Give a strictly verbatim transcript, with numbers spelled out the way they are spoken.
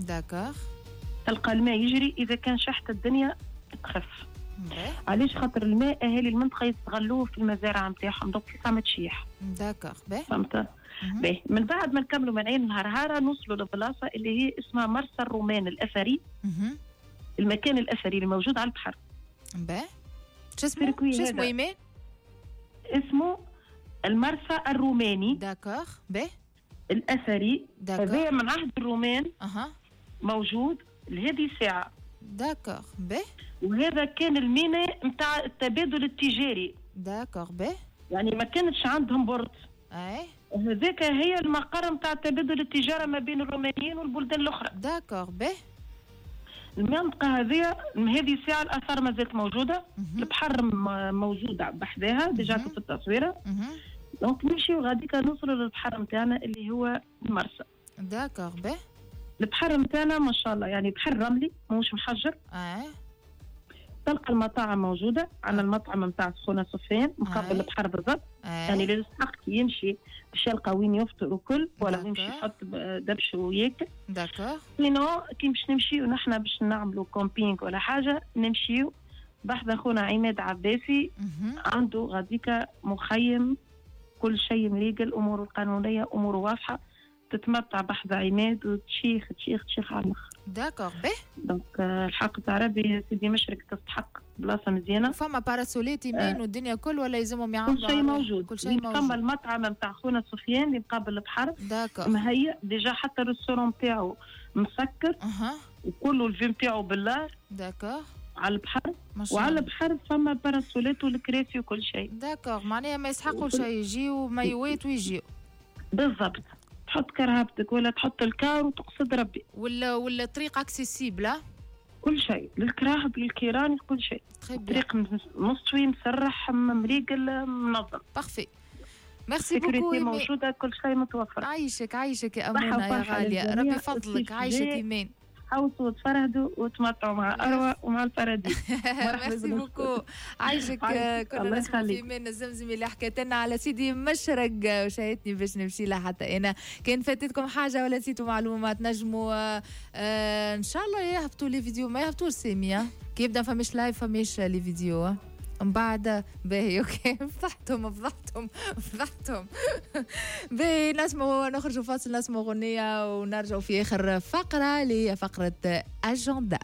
d'accord. تلقى الماء يجري، اذا كان شحت الدنيا تخف. علاش؟ خاطر الماء اهالي المنطقة يستغلوه في المزارع نتاعهم، donc في ما تشيح. d'accord. باهي. فهمت؟ باهي. من بعد ما نكملوا من عين الهرهاره نوصلوا لبلاصه اللي هي اسمها مرسى الرومان الاثري. مهم. المكان الاثري اللي موجود على البحر. باهي، شو اسمه؟ شو اسمه ايمان؟ اسمه المرسى الروماني. d'accord. باهي. الاثري هذا من عهد الرومان. اها. موجود لهذه الساعة. d'accord. باهي. وهذا كان الميناء نتاع التبادل التجاري. d'accord. باهي. يعني ما كانتش عندهم port. اي. هذاك هي المقر نتاع تبادل التجارة ما بين الرومانيين والبلدان الاخرى. d'accord. باهي. المنطقة هذه هذه الساعة الاثار ما زالت موجودة. البحر موجود بحذاها déjà في التصويره. donc نمشيو غاديك نوصلوا للبحر نتاعنا اللي هو المرسى. d'accord. باهي. البحر نتاعنا ما شاء الله يعني بحر رملي ماهوش محجر. اه. تلقى المطاعم موجودة، عندنا المطعم نتاع خونا سفيان مقابل آه. البحر بالضبط. آه. يعني اللي يستحق يمشي باش يلقى وين يفطر وكل، ولا يمشي يحط دبش وياكل. d'accord. sinon كي باش نمشيو نحن باش نعملوا camping ولا حاجة، نمشيو بحذا خونا عماد عباسي. عنده غاديكا مخيم، كل شيء مريقل، اموره القانونية اموره واضحة، تتمتع بحذا عماد وتشيخ تشيخ تشيخ على الاخر. d'accord. باهي. donc الحق تاع ربي سيدي مشرق تستحق بلاصة مزيانه. فما parasol ات يمين آه. والدنيا كل ولا يلزمهم يعملوا؟ كل شيء موجود. كل شيء موجود. فما المطعم نتاع خونا سفيان اللي مقابل البحر. d'accord. مهيأ déjà، حتى ال restaurant نتاعو مسكر. اها. وكله ال vue نتاعو بالله. d'accord. على البحر. وعلى البحر فما parasol ات والكراسي وكل شيء. d'accord، معناها ما يسحقوا شيء، يجيو مايوات ويجيو. بالضبط. تحط كرهبتك ولا تحط ال car وتقصد ربي. ولا ولا الطريق accessible؟ كل شيء، للكراهب للكيران كل شيء. الطريق مستوي مسرح مريقل منظم. parfait. merci beaucoup. موجودة، كل شيء متوفر. عايشك عايشك يا امونه يا غالية، ربي يفضلك. عايشك ايمان. حوسوا وتفرهدوا وتمتعوا مع اروى ومع ال paradis. merci beaucoup. عايشك. كنا نسمع في ايمان الزمزمي اللي حكيت لنا على سيدي مشرق وشاهدتني باش نمشي لها حتى انا. كان فاتتكم حاجة ولا نسيتوا معلومات نجموا آه ان شاء الله يهبطوا les vidéos. ما يهبطوش سامية كي يبدا فماش live فماش les vidéos من بعد. باهي OK. فضحتهم فضحتهم فضحتهم. باهي نسمعوا، نخرجوا فاصل، نسمعوا غنية ونرجعوا في آخر فقرة اللي هي فقرة أجندا.